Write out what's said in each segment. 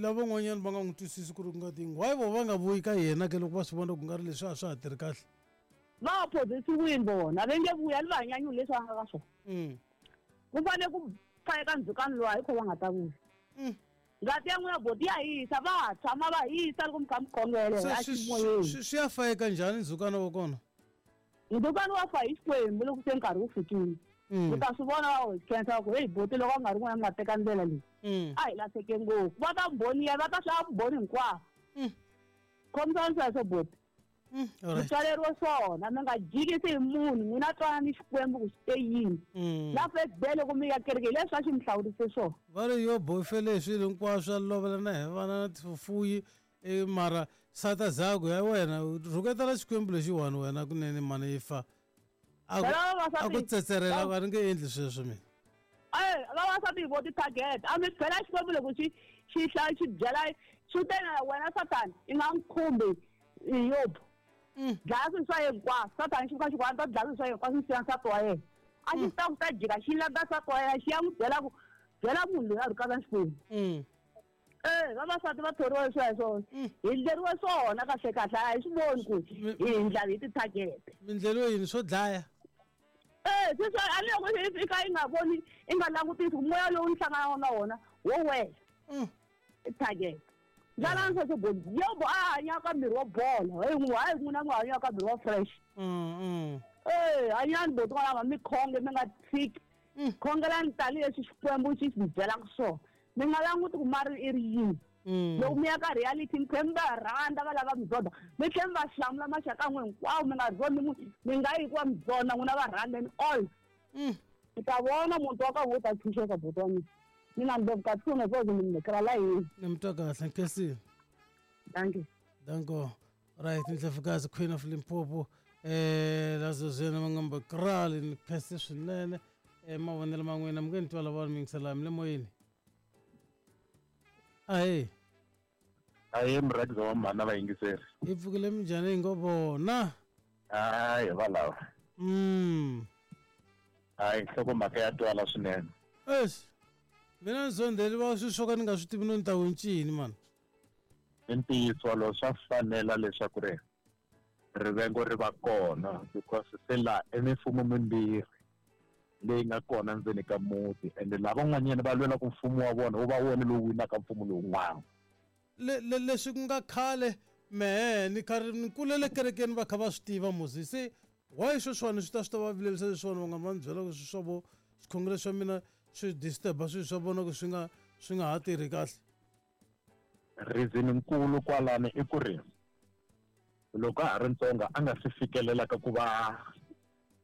Lavan'wanyana va nga n'wi twisisi ku ri ku nga ti why vo va nga vuyi ka yena ke loko va swi vona ku nga ri leswi a swa ha tirhi kahle. Va phozisiwini vona, va nge vuyi, a ni va hanyanyuli leswi va nga ka swona. Ku fanele ku fayeka ndzhukano lowu, hi kho va nga ta vuya. Ngati ya n'wina boti ya hisa, va tshama va hisa loko mi kha mi khongela Se a ximoyeni. Swi ya fayeka njhani ndzhukano wa kona? Ndzhukano wa fa hi Xikwembu loko se nkarhi wu fikile. U ta swi vona va hi khensa va ku heyi boti loko a nga ri n'wina mi nga teka ndlela leyi. A hi lahleke ngopfu. Va ta mbhoniya, va ta hlaya vumbhoni hinkwavo. Khomisani sweswo boti. Mi tswaleriwe swona, mi nga jikisi hi munhu, n'wina twana ni Xikwembu ku xi te yini. Na first day loko mi ya kereke hi leswi a xi mi hlawurise swona. Va ri Yobo u fele hi swilo hinkwaswo, a lovela na hi vana na tifuyi, mara sata zaku ya wena rhuketela Xikwembu lexiwani wena kunene mhani yi fa. A Phela vavasati ku tsetserela a ni nge endli sweswo mina. Vavasati hi vo ti-target, a mi phela Xikwembu loko xi xi hla xi byela xi te na wena Sathana i nga n'wi khumbi Yobo. Dlaya swilo swa yena hinkwaswo. Sathana xi fika xi ku a ni ta dlaya swilo swa yena hinkwaswo ni siya nsati wa yena. A xi ta ku ta jika xi landza nsati wa yena xi ya n'wi byela ku byela munhu loyi a rhukana Xikwembu. Vavasati va thoriwe sweswo. Hi ndleriwe swona kahle kahle, a hi swi voni ku hi ndla hi ti-target. Mi ndleriwe yini swo dlaya? Sweswo a ni loko i ka i nga voni, i nga langutisi ku moya lowu ni hlanganaka na wona wo wela. I target. Ndlala ni sweswo boti. Yobo a hanya ka miri wa bola. Hey, n'wi hayi n'wina n'wi hanya ka miri wa fresh. Hanyani boti n'wana mi khonge mi nga tshiki. Khongelani tanihileswi Xikwembu xi mi byelaka swona. Mi nga languti ku mari i ri yini. Loko mi ya ka reality mi tlhela mi va rhandza va lava mi zonda. Mi tlhela mi va hlamula maxaka ya n'wina hinkwawo, mi nga zondi munhu, mi nga yi hikuva mi zonda n'wina va rhandzeni all. Mi ta vona muti wa ka n'wina wu ta tshunxeka buti wa mina. Mina ni loko kahle na zozo mi ni la yini. Ni mi twa kahle, nkhensile. Dankie. Danko. Right, Ndlovukazi Queen of Limpopo. Lazozweni va ngamba krali ni khense swinene. Mavonelo ma n'wina mi nge ni twa lava mi yingisela mi le moyeni. Ahee. Ahee murhangeri wa mhana vayingiseri. Hi pfukile minjhani hi ngo vona? Hayi va lava. Hayi nhlokomhaka ya twala swinene. Eish. Mina ni zondheli va swilo swo ka ni nga swi tivi no ni ta wu ncini mani. I ntiyiso wolowo, swa fanela leswaku ri rivengo ri va kona because se laha i mimfumo mimbirhi leyi nga kona ndzeni ka muti ende lavan'wanyana va lwela ku mfumo wa vona wu va wona lowu winaka mfumo lowun'wana. Le le leswi ku nga khale mehe ni karhi ni kulele kerekeni va kha va swi tiva musi se why sweswiwani swi ta swi ta va vilerisa leswiwani va nga va ni byela ku swi swa vo swikhongelo swa mina swi disturb-a swilo swa vona ku swi nga ha tirhi kahle. Reason nkulu kwalano i ku ri loko a ha ri ntsongo a nga se fikelela ka ku va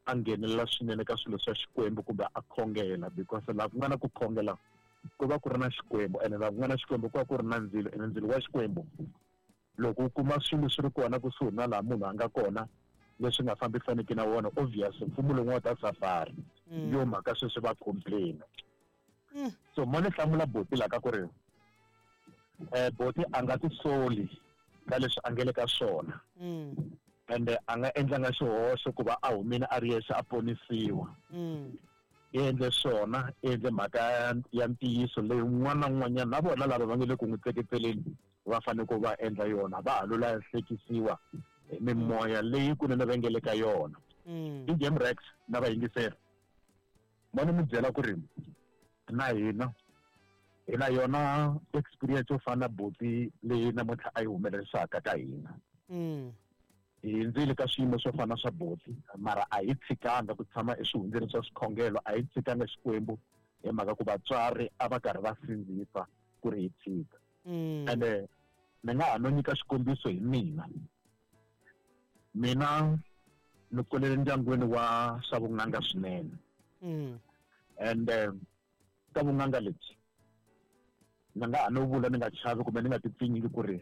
a nghenelela swinene ka swilo swa Xikwembu kumbe a khongela because laha ku nga na ku khongela ku va ku ri na Xikwembu ene laha ku nga na Xikwembu ku va ku ri na ndzilo ene ndzilo wa Xikwembu loko u kuma swilo swi ri kona kusuhi na laha munhu a nga kona leswi nga fambisaniki na wona obvious mfumo lowu wa ta safari yo mhaka sweswi va complain. So mo ni hlamula boti la ka ku ri boti a nga tisoli ka leswi a nge le ka swona. Ende a nga endlanga xihoxo ku va a humile a ri yexe a ponisiwa. I endle swona, i endle mhaka ya ntiyiso leyi un'wana na un'wanyana na vona lava va nge le ku n'wi tseketseleni va fanele ku va endla yona, va ha lo lahlekisiwa hi mimoya leyi kunene va nge le ka yona. I Game Rex na vayingiseri. Mo ni mi byela ku ri na hina hi na yona experience yo fana na buti leyi namuntlha a yi humelerisaka ka hina. Hi hundzile ka swiyimo swo fana swa buti, mara a hi tshikanga ku tshama eswihundleni swa swikhongelo, a hi tshikanga Xikwembu hi mhaka ku vatswari a va karhi va sindzisa ku ri hi tshika. Ende ni nga ha no nyika xikombiso hi mina. Mina ni kulele ndyangwini wa swa vun'anga swinene. And ka vun'anga lebyi ni nga ha no vula ni nga chavi kumbe ni nga tipfinyingi ku ri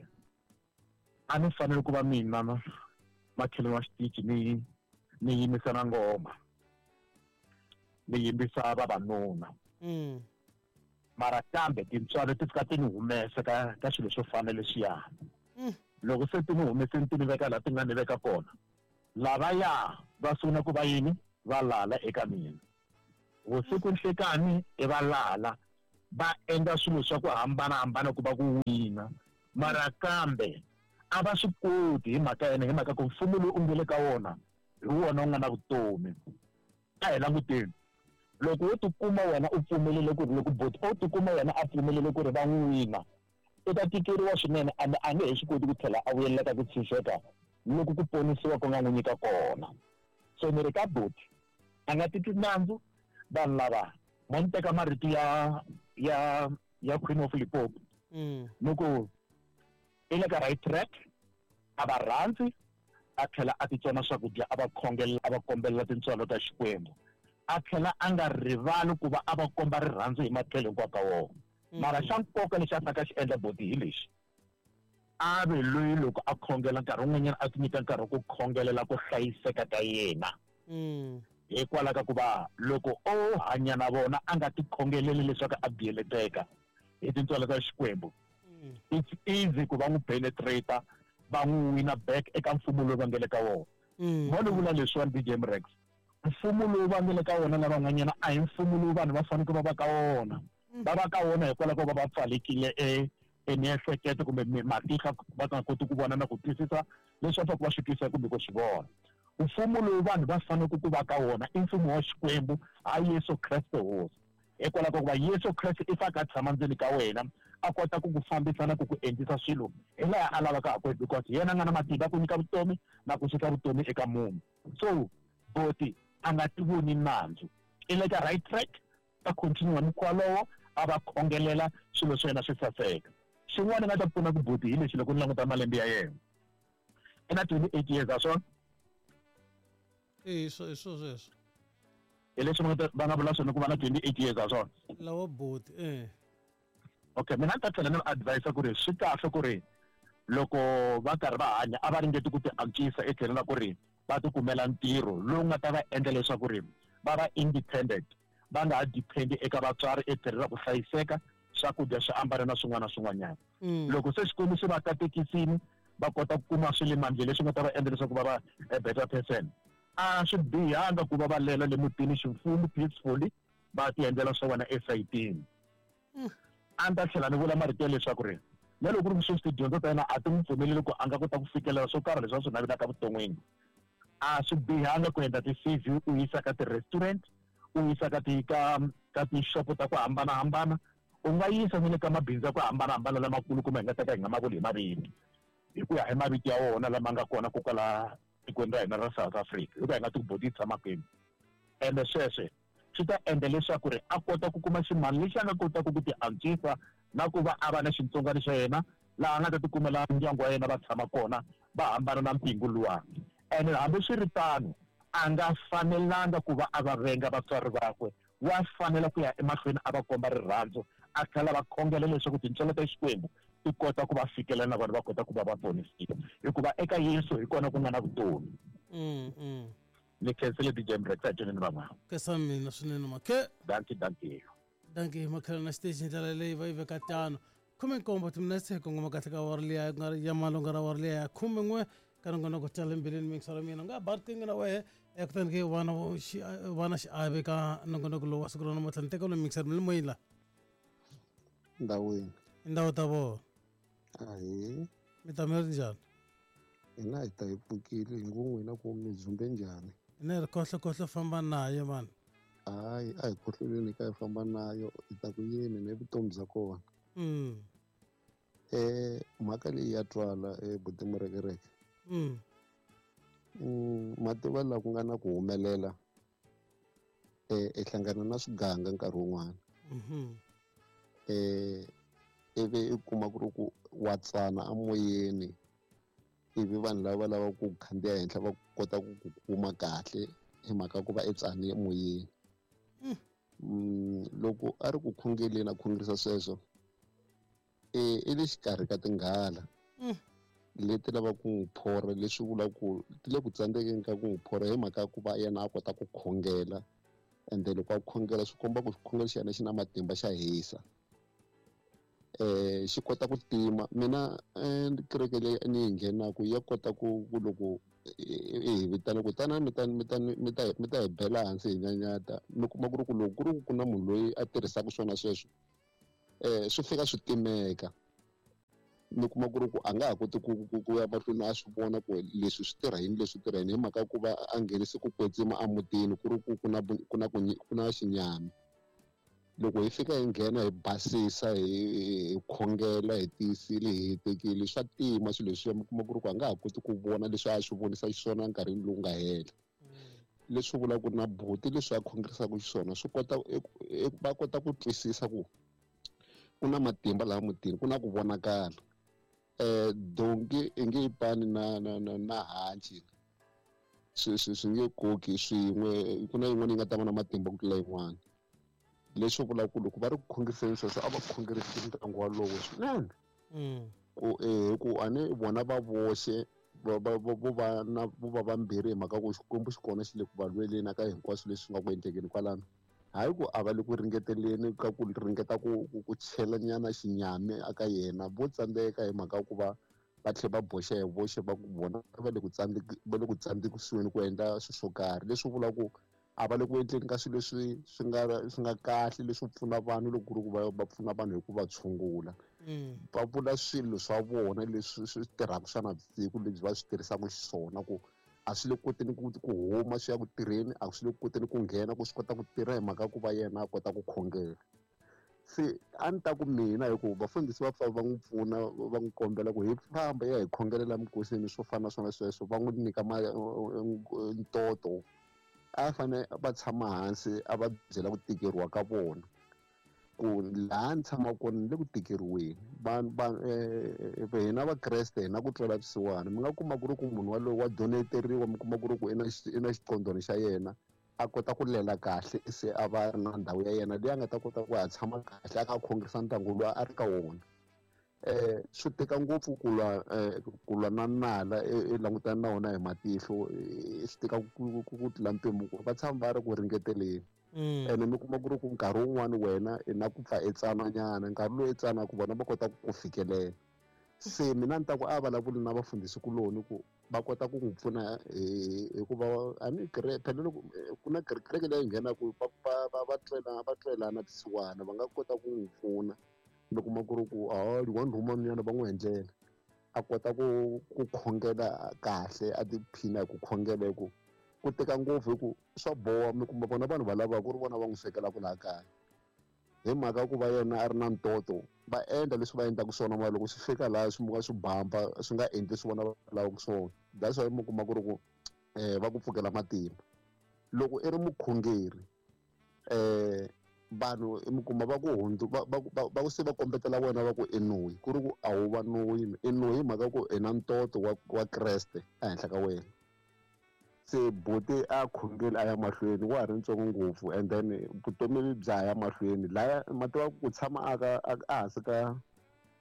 a ni fanele ku va mina makhelwani wa xitichi ni yimisa na ngoma ni yimbisa vavanuna. Mara kambe tintswalo ti fika ti ni humesa ka swilo swo fana leswiya. Loko se ti ni humeseni ti ni veka laha ti nga ni veka kona, lavaya va sungula ku va yini? Va lala eka mina. Vusiku nhlekani i va lala. Va endla swilo swa ku hambanahambana ku va ku wina, mara kambe a va swi koti hi mhaka yena, hi mhaka ku mfumo lowu u nge le ka wona hi wona wu nga na vutomi. A hi languteni, loko wo tikuma wena u pfumelele ku ri, loko boti o tikuma yena a pfumelele ku ri va n'wi wina, u ta tikeriwa swinene, ende a nge he swi koti ku tlhela a vuyelela ka ku tshunxeka loku ku ponisiwa ku nga n'wi nyika kona. So ni ri ka boti, a nga titwi nandzu. Vanhu lava mo ni teka marito ya Queen of Limpopo, ni ku i le ka right track, a va rhandzi, a tlhela a titsona swakudya, a va khongelela, a va kombelela tintswalo ta Xikwembu, a tlhela a nga rivali ku va a va komba rirhandzu hi matlhelo hinkwawo ka wona. Mara xa nkoka lexi a faneleke a xi endla boti hi lexi, a ve loyi loko a khongela nkarhi wun'wanyana a ti nyika nkarhi wa ku khongelela ku hlayiseka ka yena, hikwalaho ka ku va loko o hanya na vona a nga ti khongeleli leswaku a biyeleteka hi tintswalo ta Xikwembu, it's easy ku va n'wi penetrate, va n'wi wina back eka mfumo lowu va nge le ka wona. Mo ni vula leswiwani, DJ Mrex, mfumo lowu va nge le ka wona lavan'wanyana a hi mfumo lowu vanhu va faneleke va va ka wona. Va va ka wona hikwalaho ko va va pfalekile e miehleketo kumbe matihlo, va nga koti ku vona na ku twisisa leswi va faneleke va swi twisisa kumbe ku swi vona. Mfumo lowu vanhu va faneleke ku va ka wona i mfumo wa Xikwembu, ha Yesu Kreste Hosi, hikwalaho ka ku va Yesu Kreste i fanele a tshama ndzeni ka wena, a kota ku ku fambisa na ku ku endlisa swilo hi laha a lavaka ha kona, because hi yena a nga na matimba ku nyika vutomi na ku susa vutomi eka munhu. So boti a nga ti voni nandzu, i le ka right track, a continue mukhuva lowo, a va khongelela swilo swa yena swi saseka. Xin'wana nga ta pfuna ku boti hi lexi, loko ni languta malembe ya yena, i na 28 years, a swona? I swo sweswo. Hi leswi va nga vula swona ku va na 28 years, a swona? Lawa boti, eh. Okay, mina ni ta tlhela ni va advise ku ri swi kahle ku ri loko va karhi va hanya a va ringeti ku ti antswisa etlhelo ra ku ri va ti kumela ntirho lowu nga ta va endla leswaku ri va va independent, va nga ha depend eka vatswari etlhelo ra ku hlayiseka, swakudya, swiambalo na swin'wana na swin'wanyana. Loko se Xikwembu xi va katekisini, va kota ku kuma swi le mandleni leswi nga ta va endla leswaku va va a better person, a swi bihanga ku va va lela le mutini ximfumo peacefully, va ti endlela swa vona esayitini. A ni ta tlhela ni vula marito ya leswaku ri na loko ku ri sweswi tidyondzo ta yena a ti n'wi pfumeleli ku a nga kota ku fikelela swo karhi leswi a swi navelaka vuton'wini, a swi bihanga ku endla ti-CV, u yisa ka ti-restaurant, u yisa ka ti ka ka tixopo ta ku hambanahambana, u nga yisa ni le ka mabindzu ya ku hambanahambana lamakulu, kumbe hi nga ta ka hi nga ma vuli hi mavito, hi ku ya hi mavito ya wona lama nga kona ko kwala tikweni ra hina ra South Africa, hikuva hi nga ti ku boti yi tshama kwini. Ende sweswe swi ta endla leswaku ri a kota ku kuma ximali lexi a nga kotaka ku ti antswisa na ku va a va na xitsongwana xa yena, laha a nga ta tikumela ndyangu wa yena va tshama kona, va hambana na mpingu luwa. Ene hambiswiritano, a nga fanelanga ku va a va venga vatswari vakwe, wa fanela ku ya emahlweni a va komba rirhandzu, a tlhela va khongela leswaku tintswalo ta Xikwembu ti kota ku va fikelela na vona va kota ku va va ponisiwa, hikuva eka Yesu hi kona ku nga na vutomi. Ni khensile DJ Mrex, a tweni ni van'wana. Khensa mina swinene makhe. Dankie, dankie. Dankie makhelana na xiteji hi ndlela leyi va yi veka tano. 17 timinetse hi kongoma kahle ka awara liya ku nga ri ya malunga ra awara liya ya 11 ka nongonoko tala mbilwini miyingiselo mina u nga ba riqingho na wehe, kutani ke va na xiave ka nongonoko lowu wa siku ra namuntlha. Ni teka loyi miyingiselo mi le moyeni la. Ndhawini. Tindhawu ta vona. Ahee. Mi ta mi ri njhani? Hina hi ta hi pfukile, hi ngo n'wina ku mi dzumbe njhani? Hina hi ri khohlo khohlo famba nayo mani. Hayi, a hi khohloleni ka hi famba nayo, hi ta ku yini ni vutomi bya kona. Mhaka leyi ya twala buti Murekereke. Mativa laha ku nga na ku humelela, i hlangana na swiganga nkarhi wun'wana. Ivi i kuma ku ri ku wa tsana emoyeni, ivi vanhu lava va lavaka ku khandziya henhla va kota ku ku kuma kahle hi mhaka ku va i tsane emoyeni. Loko a ri ku khongeleni a khongerisa sweswo, i le xikarhi ka tinghala leti lavaka ku n'wi phora, leswi vulaka ku ti le ku tsandzekeni ka ku n'wi phora hi mhaka ya ku va yena a kota ku khongela, ende loko a khongela swi komba ku xikhongelo xa yena xi na matimba, xa hisa, xi kota ku tima. Mina kereke leyi ni yi nghenaka ya kota ku loko hi vitana ku tana mi ta mi ta mi ta mi ta hi bela hansi hi nyanyata, mi kuma ku ri ku loko ku ri ku na munhu loyi a tirhisaka swona sweswo, Swi fika swi timeka. Mi kuma ku ri ku a nga ha koti ku ya mahlweni a swi vona ku leswi swi tirha yini, leswi tirha yini, hi mhaka ku va a nghenise ku kwetsima emutini, ku ri ku ku na xinyami. Loko hi fika hi nghena hi basisa, hi khongela, hi tiyisile, hi hetekile, swa tima swilo leswiya. Mi kuma ku ri ku a nga ha koti ku vona leswi a swi vonisa xiswona enkarhini lowu nga hela. Leswi vulaka ku na buti leswi a khongerisaka xiswona swi kota va kota ku twisisa ku ku na matimba laha mutini, ku na ku vonakala. Donki i nge yi pani na hanci, swi nge koki swin'we, ku na yin'wana yi nga ta va na matimba ku tlula yin'wana. Leswi vulaka ku loko va ri ku khongeriseni sweswo, a va khongerisi ndyangu walowo swinene. Ku ku a ni vona va voxe vo va na vo va vambirhi, hi mhaka ku Xikwembu xi kona xi le ku va lweleni ka hinkwaswo leswi nga ku endlekeni kwalano. Hayi ku a va le ku ringeteleni ka ku ringeta ku chela nyana xinyami aka yena, vo tsandzeka hi mhaka ku va va tlhela va boxa hi voxe, va ku vona va le ku va le ku tsandzekisiweni ku endla swilo swo karhi. Leswi vulaka ku a va le ku endleni ka swilo leswi swi nga kahle, leswi pfuna vanhu, loko ku ri ku va pfuna vanhu hi ku va tshungula. Va vula swilo swa vona leswi swi tirhaka swa navusiku, lebyi va swi tirhisaka xiswona, ku a swi le koteni ku huma swi ya ku tirheni, a swi le koteni ku nghena ku swi kota ku tirha, hi mhaka ku va yena a kota ku khongela. Se a ni ta ku mina, hi ku vafundhisi va pfa va n'wi pfuna, va n'wi kombela ku hi famba ya hi khongelela mikosini, swo fana na swona sweswo, va n'wi nyika ntoto. A fane va tshama hansi, a va byela ku tikeriwa ka vona, ku laha ni tshamaka kona ni le ku tikeriweni. Vanhu va hina vakreste hi na ku twela vusiwana. Mi nga kuma ku ri ku munhu walowo wa donateriwa, mi kuma ku ri ku i na xiqondweni xa yena, a kota ku lela kahle, se a va ri na ndhawu ya yena leyi a nga ta kota ku ya tshama kahle, a kha a khongerisa ndyangu lowu a ri ka wona. Swi tika ngopfu ku lwa na nala i langutana na wona hi matihlo, swi tika ku tlula mpimo, ku va tshama va ri ku ringeteleni. Ene mi kuma ku ri ku nkarhi wun'wani wena i na ku pfa i tsananyana, nkarhi lowu i tsanaka vona va kota ku ku fikelela. Se mina ni ta ku a vulavuli na vafundhisi kuloni ku va kota ku n'wi pfuna, hikuva a ni phela loko ku na kereke leyi nghenaka, va twelana vusiwana, va nga kota ku n'wi pfuna. Mi kuma ku ri ku a one room nyana va n'wi endlela, a kota ku khongela kahle, a tiphina hi ku khongela, hi ku ku tika ngopfu, hi ku swa boha. Mi kuma vona vanhu va lavaka ku ri vona va n'wi swekelaka laha kaya, hi mhaka ku va yena a ri na ntoto, va endla leswi va endlaka swona, mara loko swi fika laha swi muka swi bamba, swi nga endli swi vona va lavaka swona. That's why mi kuma ku ri ku va ku pfukela matimba. Loko i ri mukhongeri, vanhu mi kuma va ku hundzu va se va kombetela wena, va ku i noyi, ku ri ku a wu va noyi, i noyi hi mhaka ku i na ntoto wa Kreste ehenhla ka wena. Se buti a khongeli, a ya mahlweni, wa ha ri ntsongo ngopfu, and then vutomi bya ha ya mahlweni. Laya ma tiva ku tshama a ka ehansi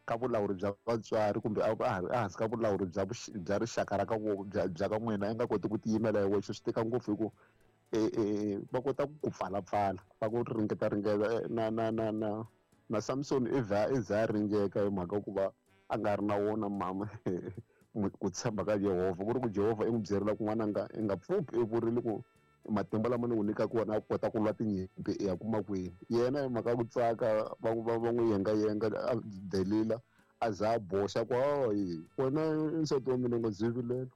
ka vulawuri bya vatswari, kumbe ehansi ka vulawuri bya rixaka ra ka bya ka n'wina, i nga koti ku tiyimela hi wexe, swi tika ngopfu, hi ku va kota ku pfalapfala, va ku ringeta ringeta. Na Samson i vha i za a ringeka, hi mhaka ku va a nga ri na wona mama ku tshemba ka Yehovha, ku ri ku Jehovha i n'wi byerile ku n'wananga, i nga pfuki i vurile ku matimba lama ni ku nyikaka wona a kota ku lwa tinyimpi i ya kuma kwini. Yena hi mhaka ku tsaka, va n'wi yengayenga, a delila, a za a boxa ku hayi, wena nsati wa mina, u nga zivilela,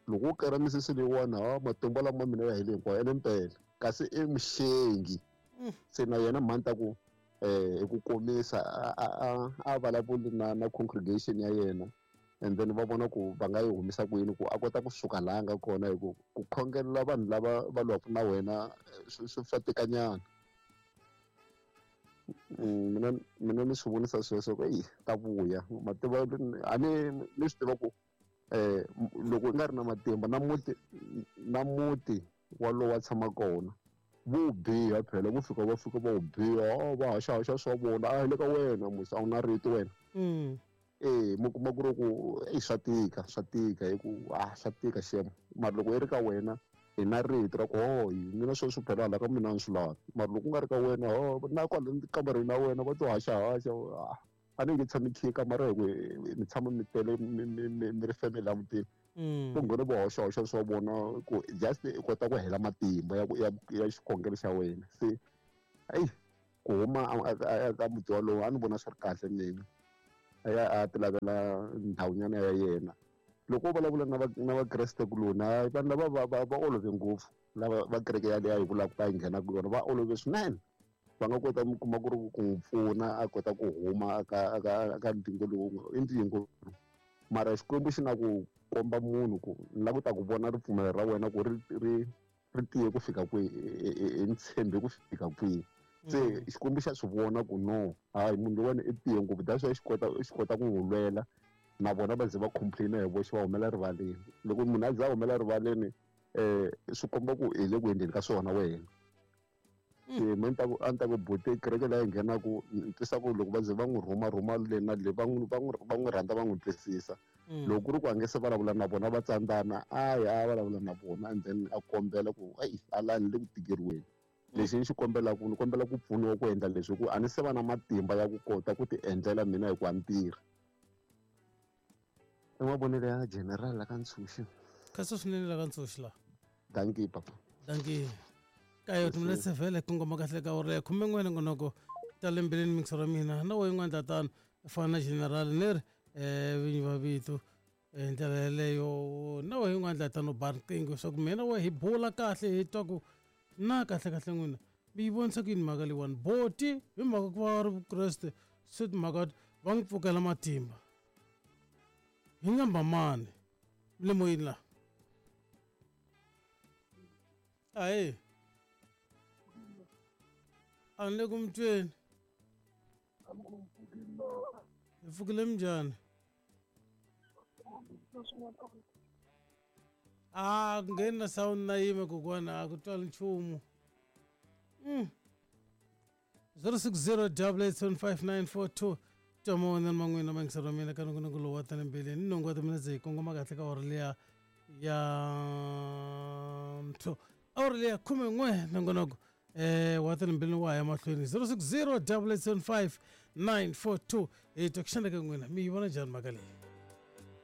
loko wo kera misisi leyiwani, ha matimba lama mina ya hele hinkwayo. Ene mpela kasi i muxengi. Se na yena mhani ta ku hi ku komisa, a vulavuli na congregation ya yena, and then va vona ku va nga yi humisa ku yini ku a kota kusuka laha a nga kona, hi ku ku khongelela vanhu lava va lwaka na wena swi tikanyana. Mina ni swi vonisa sweswo ku eyi ta vuya mativa a ni swi tiva ku loko u nga ri na matimba na muti walowo wa tshama kona, vo biha phela, vo fika va fika va wu biha, va haxahaxa swa vona, a hi le ka wena musi, a wu na rito wena. Mi kuma ku ri ku eyi swa tika, swa tika, hi ku a swa tika xem. Mara loko i ri ka wena, hi na rito ra ku hoyi, mina sweswi phela hala ka mina a ni swi lavi. Mara loko ku nga ri ka wena, ho na kwala kamareni la wena va to haxahaxa, a ni nge tshami khiye kamara, hi ku mi tshama mi tele, mi ri family la mutini. Ku nghena vo hoxahoxa swa vona, ku just i kota ku hela matimba ya xikhongelo xa wena. Se eyi ku Ku huma a ka muti walowo, a ni vona swi ri kahle mina, a ya a ti lavela ndhawunyana ya yena. Loko u vulavula na vakreste kuloni, hayi, vanhu lava va olove ngopfu. Lava va kereke yaleyo yi vulaka va yi nghenaka yona, va olove swinene. Va nga kota, mi kuma ku ri ku n'wi pfuna a kota ku huma aka ndzingo lowu. I ndzingo, mara Xikwembu xi na ku komba munhu ku ni lava ku ta ku vona ripfumelo ra wena ku ri tiye ku fika kwihi, i ni tshembe ku fika kwihi. Se Xikwembu xa swi vona ku no, hayi, munhu loyiwani i tiye ngopfu. That's why xi kota ku n'wi lwela na vona va ze va complain hi voxe, va humela rivaleni. Loko munhu a ze a humela rivaleni, swi komba ku hi le ku endleni ka swona wena. Se me ni ta ku, a ni ta ku buti, kereke leyi nghenaku, ni twisa ku loko va ze va n'wi rhuma rhuma le na le, va n'wi rhandza, va n'wi twisisa. Loko ku ri ku a nge se vulavula na vona, va tsandzana, a ya a vulavula na vona and then a kombela ku eyi, alani le ku tikeriweni, lexi ni xi kombelaka, ni kombela ku pfuniwa ku endla leswi, hi ku a ni se va na matimba ya ku kota ku ti endlela mina, hi ku a ni tirhi. I mavonelo ya General la ka Ntshuxi. Khaso swinene la ka Ntshuxi la. Dankie, papa. Dankie. Kayo timinetse vhele kongoma kahle ka awara ya 11 nongonoko ta le mbilwini. Mixo ra mina na wo yin'wana tatano fana na General ni ri vinyi va vito hi ndlela yeleyo. Na we yin'wana ndlela tano, ba riqingho leswaku mina we hi bula kahle, hi twa ku na kahle kahle n'wina mi yi vonisa ku yini mhaka leyiwani. Boti hi mhaka ku va ri Vukreste, se timhaka va n'wi pfukela matimba hi nyamba mani le moyeni la. Ahe, a ni le ku mi tweni. Hi pfukile, minjhani? A ku ngheni na sound na yime, kokwana, a ku twali nchumu. 060 8875942 twa wena man'wina mangiselo wa mina ka nongonoko lowu wa tale mbilwini. Ni nhungu wa timinetse hi kongoma kahle ka awara liya ya ntho, awara liya 11. Nongonoko wa tale mbilwini wa ha ya mahlweni. 060 875 942. Hi twa ku xana ka n'wina mi yi vona njhani mhaka leyi?